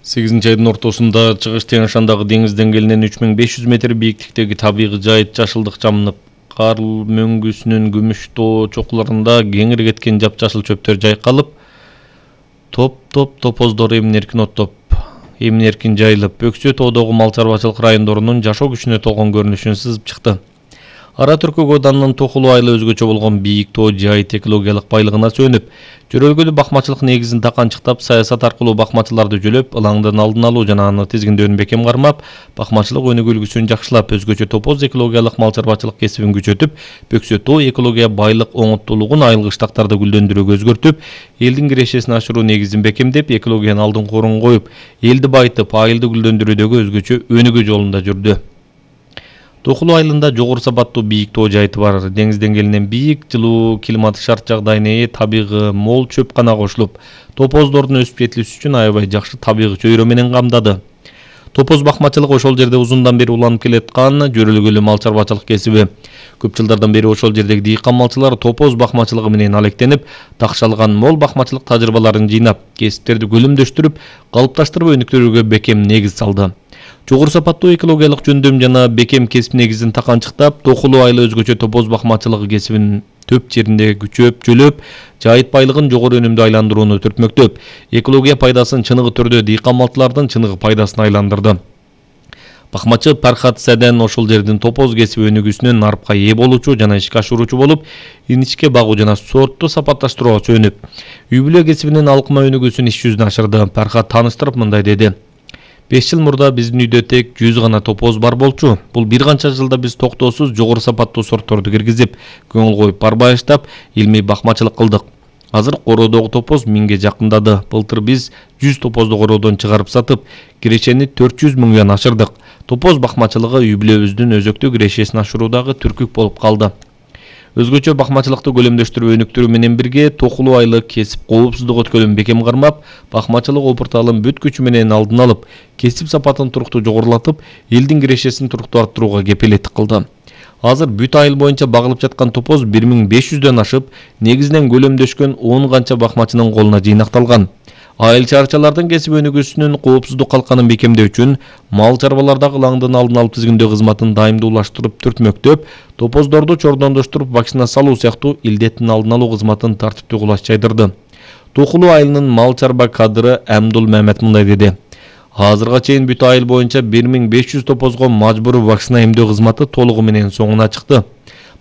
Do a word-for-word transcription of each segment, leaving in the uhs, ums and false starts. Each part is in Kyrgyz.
сегизинчи айдын ортосунда Чыгыш Теңиш Шандагы деңиз деңгээлинен үч миң беш жүз метр бийиктиктеги табигый жайыт жашылдык жамынып, кар мөңгүсүнүн күмүш тоо чокуларында кеңири кеткен жапжашыл чөптөр жайкалып, топ-топ топоздор эмин-эркин оттоп, эмин-эркин жайылып, Өксө тоодогу мал чарбачылык райондорунун жашоо күчүнө толгон көрүнүшүн сызып чыкты. Ара Түркөк ауданынын Токулуу айылы өзгөчө болгон бийик тоо жайыт экологиялык байлыгына сөнүп, жөрөлгөлүү бакмачылык негизин таканчыктап, саясат аркылуу бакмачыларды жөлөп, ылаңдын алдын алуу жана аны тизгиндөөнү бекем кармап, бакмачылык өнүгүү үлгүсүн жакшылап, өзгөчө топоз экологиялык мал чарбачылык кесибин күчөтүп, Өксө тоо экология байлык оңоттуулугун айыл кыштактарды гүлдөндүрүүгө өзгөртүп, элдин кирешесин ашыруу негизин бекемдеп, экологиянын алдыңкы орунга коюп, элди байытып, айылды гүлдөндүрүүдөгү өзгөчө өнүгүү жолунда жүрдү. Токулуу айылында жогору сапаттуу бийик тоо жайыты бар. Деңиз деңгээлинен бийик, жылуу климаттык шарт жагдайына ээ, табигый мол чөп гана кошулуп, топоздордун өсүп жетилиши үчүн аябай жакшы табигый чөйрө менен камдады. Топоз бакмачылык ошол жерде узундан бери уланып келаткан жөрөлгөлүү мал чарбачылык кесиби. Көп жылдардан бери ошол жердеги дыйкан малчылар топоз бакмачылыгы менен алектенип, такшалган мол бакмачылык тажрыйбаларын жыйнап, кесиптерди көлөмдөштүрүп, калыпташтырып өнүктүрүүгө бекем негиз салды. Жогору сапаттуу экологиялык жөндөм жана бекем кесип негизин таканчыктап, Токулуу айылы өзгөчө топоз бакмачылыгы кесибин төп жеринде күчөп, жөлөп, жайыт байлыгын жогору өнүмдүү айландырууну түртмөктөп, экология пайдасын чыныгы түрдө дыйкан малчылардын чыныгы пайдасына айландырды. Бакмачы Пархат Сәден ошол жердин топоз кесиби өнүгүүсүнөн нарыпка ээ болуучу жана ишке ашыруучу болуп, иничке багуу жана сортту сапатташтырууга сөнүп, үй бүлө кесибинин алкыма өнүгүүсүн иш жүзүнө ашырды. Пархат тааныштырып мындай деди: беш жыл мурда биздин үйдө тек жүз гана топоз бар болчу. Бул бир канча жылда биз токтоосуз жогору сапаттуу сортторду киргизип, көңүл коюп барбаштап, илмий бакмачылык кылдык. Азыр короодогу топоз миңге жакындады. Былтыр биз жүз топозду короодон чыгарып сатып, кирешени төрт жүз миңден ашырдык. Топоз бакмачылыгы үй бүлөбүздүн өзөктүү кирешесин ашыруудагы түркүк болуп калды. Өзгөчө бакмачылыкты көлөмдөштүрүп өнүктүрүү менен бирге, Токулуу айылы кесип коопсуздук өткөлүн бекем кармап, бакмачылык опурталын бүт күчү менен алдын алып, кесип сапатын туруктуу жогорулатып, элдин кирешесин туруктуу арттырууга кепилеттик кылды. Азыр бүт айыл боюнча багылып жаткан топоз бир миң беш жүздөн ашып, негизинен көлөмдөшкөн он канча бакмачынын колуна жыйнакталган. Айыл чарчалардын кесип өнүгүүсүнүн коопсуздук калканын бекемдөө үчүн мал чарбалардагы ылаңдын алдын алып тизгиндөө кызматын дайымдуулаштырып түртмөктөп, топоздорду чордондоштуруп вакцина салуу сыяктуу илдеттин алдын алуу кызматын тартиптүү кулаш жайдырды. Токулуу айылынын мал чарба кадры Амдул Мамет мындай деди: азырга чейин бүт айыл боюнча бир миң беш жүз топозго мажбуруу вакцина эмдөө кызматы толугу менен соңуна чыкты.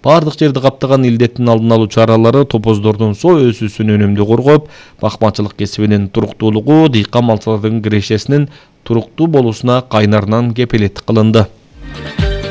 Бардык жерди каптаган илдеттин алдын алуу чаралары топоздордун соо өсүүсүн өнүмдүү коргоп, бакмачылык кесибинин туруктуулугу, дыйкан малчылардын кирешесинин туруктуу болуусуна кайнарынан кепилеттик кылынды.